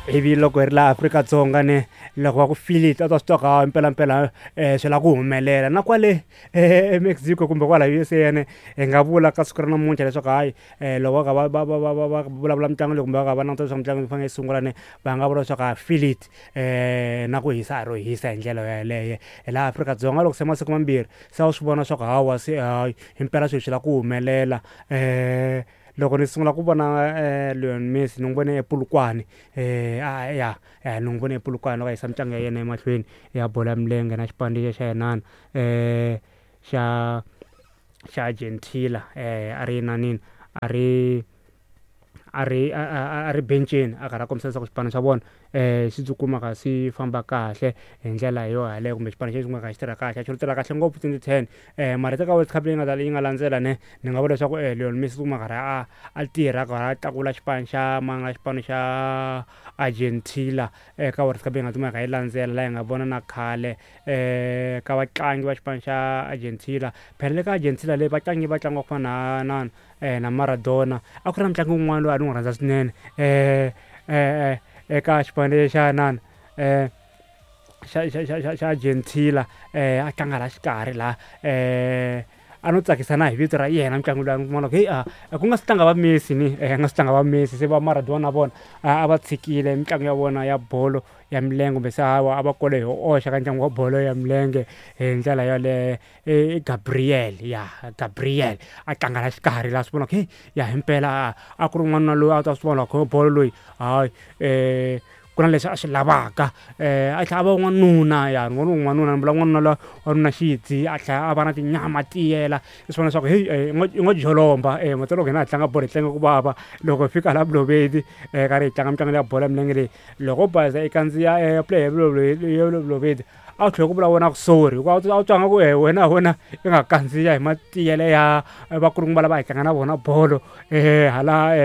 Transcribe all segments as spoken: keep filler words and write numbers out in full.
Ivi loko hi ri laha Afrika-Dzonga ne loko va ku feel it a ta swi twa ku hawa mpelampela um swi lava ku humelela na kwale eMexico kumbe kwala U S A ne hi nga vula ka siku ra namuntlha leswaku hayi um loko va kha va va va va va va vulavula mitlangu leyi kumbe va kha va languta leswaku mitlangu yi fanele yi sungula ne va nga vula leswaku ha feel it um na ku hisa a ro hisa hi ndlela yeleyo. Hi laha Afrika-Dzonga loko se masiku mambirhi se a wu swi vona leswaku hawa se hayi himpela swilo swi lava ku humelela um loko ni sungula ku vona Lionel Messi ni n'wi vone ePolokwane um ya ni n'wi vone ePolokwane loko a yisa mitlangu ya yena emahlweni ya bolo ya milenge na xipano lexiya xa inana um xa xa Argentina um a ri inanini a ri a ri a ri benceni a karhi a kombisa leswaku xipano xa vona um xi tikuma xi famba kahle hi ndlela yo yaleyo kumbe xipano xi kumeka xi tirha kahle a xi tirha kahle ngopfu twenty ten um mara eka World Cup leyi nga ta yi nga landzela ne ni nga vula leswaku Lionel Messi u kuma karhi a a tirha a karhi a tlakula xipano xa manga xipano xa Argentina eka World Cup leyi nga kumeka yi landzela laha hi nga vona na khale um ka vatlangi va xipano xa Argentina. Phela le ka Argentina leyi vatlangi va tlanga ku fana na na na Maradona a ku ri na mutlangi wun'wana loyi a ni n'wi rhandza swinene um eka xipano lexi xa inana um xa xa xa xa xa Argentina um a tlanga laha xikarhi laha um a no tsakisa na hi vito ra yena mutlangi loyi a ni ku heyi a ku nga si tlanga va Messi ni nga si tlanga va Messi se va Maradona na vona a va tshikile mitlangu ya vona ya bolo ya milenge kumbe se hawa a va kole hi oxa ka ntlangu wa bolo ya milenge hi ndlela yaleyo i Gabriel ya Gabriel a tlanga la xikarhi laha swi vona ku heyi ya himpela a ku ri n'wanuna loyi a ta swi vona ku bolo loyi hayi um ku na leswi a swi lavaka um a tlhela a va n'wanuna ya ni vona n'wanuna ni vula n'wanuna loyi wanuna xidzi a tlhela a va na tinyama tiyela i swi vona leswaku heyi i ngo jolomba um mati loko hina hi tlanga bolo hi tlanga ku vava loko hi fika laha Balobedu um karhi hi tlanga mitlangu ya bolo ya milenge leyi loko baza i kandziya player ya Balobedu a wu tlhela ku vula wena ku sorry hikuva a wu twanga ku wena wena i nga kandziya hi matiyele ya vakulukumba lava hi tlanga na vona bolo um hala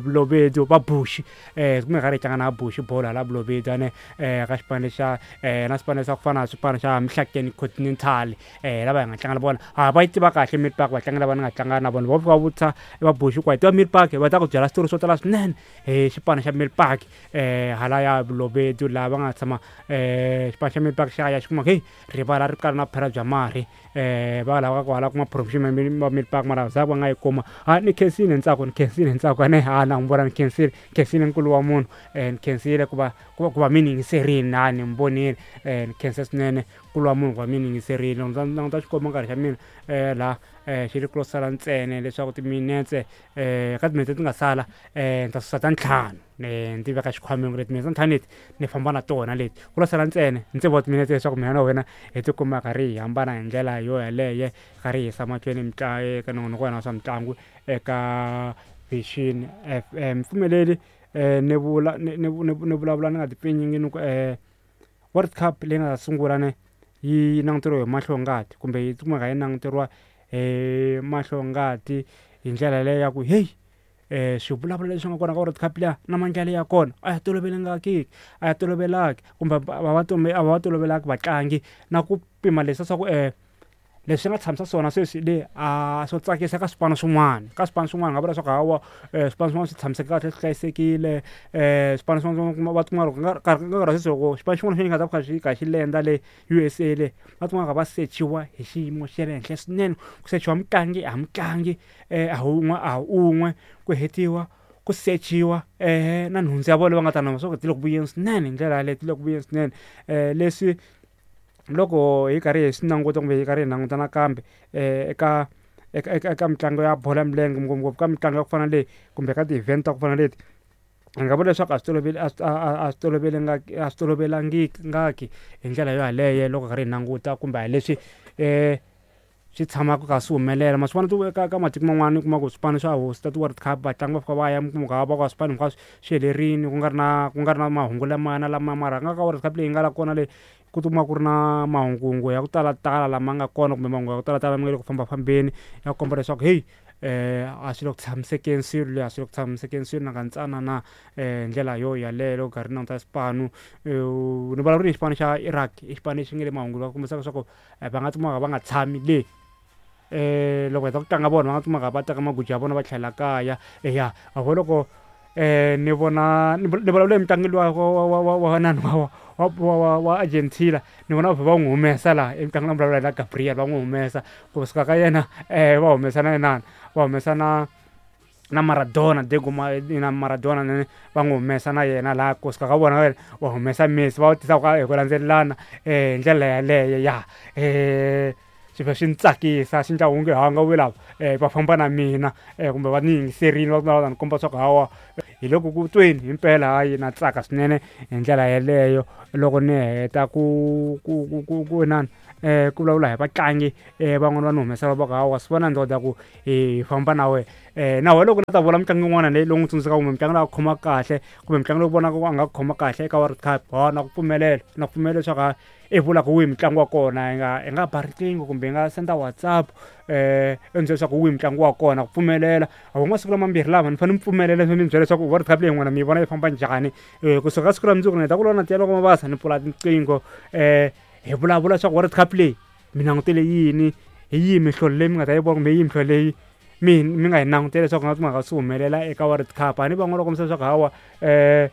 Balobedu va Bush um kumbe karhi hi tlanga na Bush bolo hala Balobedu ane um ka xipano xa um na swipano swa ku fana na swipano xa Mhlakeni Continental um lava hi nga tlanga na vona ha va yi tiva kahle Mid Park vatlangi lava ni nga tlanga na vona va fika va vutisa va Bush ku hi tiva Mid Park va ta ku byela switori swo tala swinene hi xipano xa Mid Park um hala ya Balobedu laha va nga tshama um xipano xa Mid Park xa ya xi kuma heyi rivala ri kala na phera bya marhi um va lava ku hala kuma promotion va Mid Park mara za va nga yi kuma ha ni khensile ntsako ni khensile ntsako ane ha na n'wi vona ni khensile khensile nkulu wa munhu um ni khensile ku va ku va ku va mi ni yingiserile ha ni mi vonile um ni khensa swinene nkulu wa munhu ku va mi ni yingiserile loko ndzi languta xikomba nkarhi xa mina um laha um xi ri ku lo sala ntsena leswaku timinetse um ka timinetse ti nga sala um ni ta susa ta ntlhanu ni ti veka xikhwameni leti timinetse ta ntlhanu leti ni famba na tona leti ku lo sala ntsena ni tsevu wa timinetse leswaku mina na wena hi tikuma karhi hi hambana hi ndlela yo yeleyo karhi hi yisa mahlweni mitlangu eka nongonoko wa hina wa swa mitlangu eka Vision F M pfumeleli um ni vula ni ni ni vulavula ni nga ti pfinyingi ni ku um World Cup leyi nga ta sungula ne yi languteriwa hi mahlongati kumbe yi kumeka yi languteriwa hi mahlongati hi ndlela leyi ya ku heyi um swivulavula leswi nga kona ka World Cup liya na maendlelo ya kona a ya tolovelekangiki a ya tolovelaki kumbe a va a va tolovelaki vatlangi na ku pima leswi swa ku um leswi nga tshamisa swona sweswi le a swo tsakisa ka swipano swin'wana ka swipano swin'wana nga vula leswaku hawa um swipano swin'wana swi tshamiseke kahle swi hlayisekile um swipano swin'wana va tikuma loko nkarhi nkarhi wa sweswi loko xipano xin'wana xi nga ta kha xi kha xi lenda le U S A le va tikuma va sechiwa hi xiyimo xa le henhla swinene ku sechiwa mutlangi ha mutlangi um a wun'we a un'we ku hetiwa ku sechiwa um na nhundzu ya vona va nga ta na swa ku ti le ku vuyeni swinene hi ndlela yaleyo ti le ku vuyeni swinene um leswi loko hi karhi hi swi languta kumbe hi karhi hi languta nakambe um eka eka eka eka mitlangu ya bolo ya milenge ngopfungopfu ka mitlangu ya ku fana na leyi kumbe ka ti-event ta ku fana na leti hi nga vula leswaku a swi toloveli a swi a swi tolovelekangiki a swi tolovelekangiki hi ndlela yo yaleyo loko hi karhi hi languta kumbe a hi leswi um swi tshamaka kha swi humelela ma swi vona ka ka matiko man'wana u kuma ku swipano swa hosta ti-World Cup vatlangi va fika va ya mi kuma ku va ka swipano hinkwaswo swi helerile ku nga ri na ku nga ri na mahungu lamaya na lama mara nga ka World Cup leyi nga la kona leyi ku tikuma ku ri na mahunguhungu ya ku talatala lama nga kona kumbe mahungu ya ku talatala ma nga le ku fambafambeni ya komba leswaku heyi um a swi le ku tshamisekeni swilo leyi a swi le ku tshamisekeni swilo nakantsana na um ndlela yo yaleyo loko karhi languta xipano ni vulavula hi xipano xa Iraq i xipano lexi nga le mahungu va kombisaka leswaku va nga tikuma va nga tshami le um loko heta ku tlanga vona va nga tikuma va teka maguja ya vona va tlhela kaya ya a vo loko um ni vona ni vulavula hi mutlangi luwa wa wa wa wa nani wa wa wa wa Argentina ni vona va va n'wi humesa laha i mutlangi na vulavula na Gabriel va n'wi humesa kusuka ka yena um va humesa na inani va humesa na na Maradona Diego na Maradona va n'wi humesa na yena laha kusuka ka vona va humesa Messi va tisa hi ku landzelelana um hi ndlela yaleyo ya um swi vhe swi ni tsakisa swi endla onge ha nga ve lava um va famba na mina um kumbe va ni yingiserile va va ni komba swa ku hawa hi loko ku tweni himpela hayi na tsaka swinene hi ndlela yeleyo loko ni heta ku ku ku ku ku inani um ku vulavula hi vatlangi um van'wani va ni humesela va ku hawa swi vona ndoda ku hi famba na wena um na wena loko la ta vula mutlangi un'wana leyi lowu n'wi tsundzukaka kumbe mutlangi loyi a khoma kahle kumbe mutlangi lowu vonaka ku a nga khoma kahle eka World Cup ha na ku pfumelela na ku pfumela leswaku i vula ku wihi mutlangi wa kona hi nga hi nga ba riqingho kumbe hi nga senda WhatsApp um i ni byela leswaku wihi mutlangi wa kona ku pfumelela a masiku lamambirhi lama ni fanele mi pfumelela mi byela leswaku World Cup leyi n'wina mi yi vona yi famba njhani um kusuka ka siku ra mundzuku ni heta ku lona na loko mabasa ni pfula tinqingho um hi vulavula leswaku World Cup leyi mi langutele yini hi yihi mihlolo leyi mi nga ta yi vona kumbe hi yihi mihlolo leyi mi mi nga yi langutela leswaku nga kumaka swi humelela eka World Cup a ni van'wana va kombisa leswaku hawa um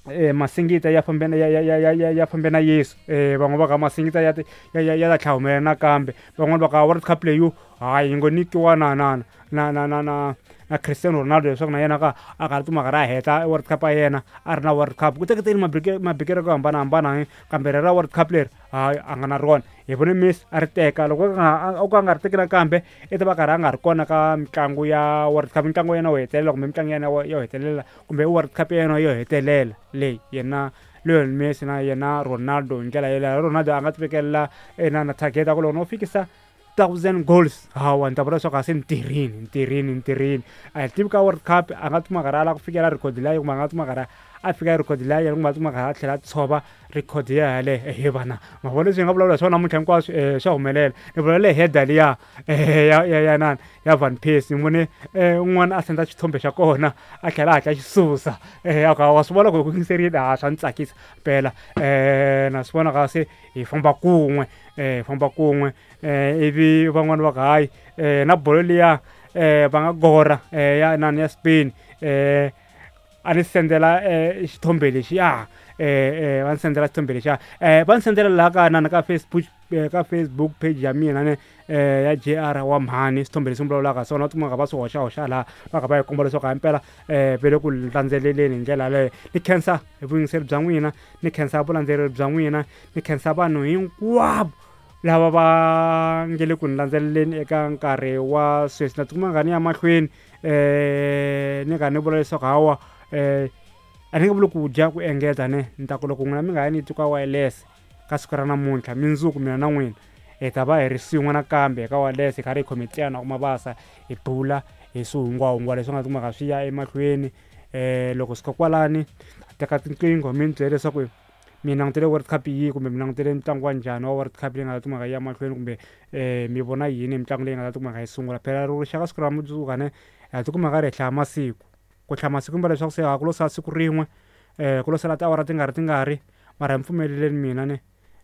eh masingita ya fambe ya ya ya ya ya fambe na Yesu eh van'wana va ka masingita ya ya ya ya ta tlhela humelela nakambe van'wana va ka World Cup leyi hayi yi ngo nyikiwa na na na na na na na Cristiano Ronaldo leswaku na yena ka a karhi timhaka ra heta World Cup ya yena a ri na World Cup ku teketeni mabikelo ku hambanahambana kambe ra World Cup leri hayi a nga na rona hi vone Messi a ri teka loko o ka a nga ri teki nakambe i ta va karhi a nga ri kona ka mitlangu ya World Cup mitlangu ya yena yo hetelela kumbe mitlangu ya yena yo hetelela kumbe World Cup ya yena yo hetelela leyi yena Lionel Messi na yena Ronaldo hi ndlela yeleyo Ronaldo a nga ti vekelela na na target ya ku loko no fikisa thousand goals hawa ni ta vula leswaku a se ni tirhini ni tirhini ni tirhini a hi tivi ka World Cup a nga tuma karhi a lava ku fikela record liya kumbe a nga tuma karhi a fika record liya kumbe a tuma karhi a tlhela a tshova record ya yaleyo he vana ma vona leswi hi nga vulavula hi swona namuntlha hinkwaswo um swa humelela ni vulavula hi header liya ya ya ya nani ya Van Persie ni vone un'wana a senda xithombe xa kona a tlhela a hatla xi susa um a wa swi vona ku hi ku yingiserile a swa ni tsakisa mpela um na swi vona ka se hi famba kun'we um hi famba kun'we um ivi van'wani va ku hayi um na bolo liya um va nga gora um ya nani ya Spain um a ni sendela um xithombe lexiya um va ni sendela xithombe lexiya um va ni sendela laha ka nani ka Facebook ka Facebook page ya mina ne um ya J R wa mhani xithombe lexi ni vulavulaka swona va tikuma va swi hoxahoxa laha va kha va yi komba leswaku himpela um va le ku landzeleleni hi ndlela yaleyo ni khensa hi vuyingiseri bya n'wina ni khensa vulandzeleri bya n'wina ni khensa vanhu hinkwavo lava va nge le ku ni landzeleleni eka nkarhi wa sweswi na tikuma nga ni ya mahlweni um ni kha ni vula leswaku hawa um a ni nge vuli ku dya ku engeta ne ni ta ku loko n'wina mi nga ya ni twi ka wireless ka siku ra namuntlha mundzuku mina na n'wina hi ta va hi ri swin'we nakambe eka wireless hi karhi hi khometana ku mabasa hi bula hi swihungwahungwa leswi nga kumaka swi ya emahlweni um loko suka kwalani teka tinqingho mi ni byela leswaku mi langutele World Cup yihi kumbe mi langutele ntlangu wa njhani wa World Cup leyi nga ta kumaka yi ya mahlweni kumbe um mi vona yini hi mitlangu leyi nga ta kumaka yi sungula phela ro rixaka siku ra mundzuku ne ha tikuma karhi hi hlaya masiku ku hlaya masiku mba leswaku se ha ku lo sala siku rin'we um ku lo sala tiawara tingari tingari mara hi pfumeleleni mina ne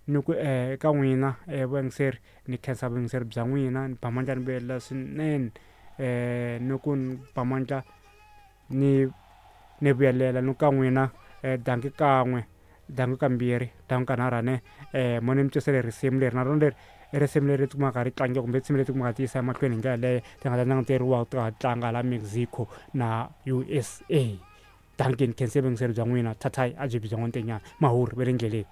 ni ku um eka n'wina um vuyingiseri ni khensa vuyingiseri bya n'wina ni ba mandla ni vuyelela swinene um ni ku ni ba mandla ni ni vuyelela ni ka n'wina um danki kan'we danki kambirhi danki kanharhu ne um mo ni mi twisele risimu leri na rona leri i risimu leri tikumaka ri tlangiwa kumbe risimu leri tikumaka ti yisa emahlweni hi ndlela leyo ti nga ta languteriwa ti nga tlanga la Mexico na U S A danki ni khense vuyingiseri bya n'wina thathayi a byi byi bya n'wantenyana mahuri ve le ndleleni.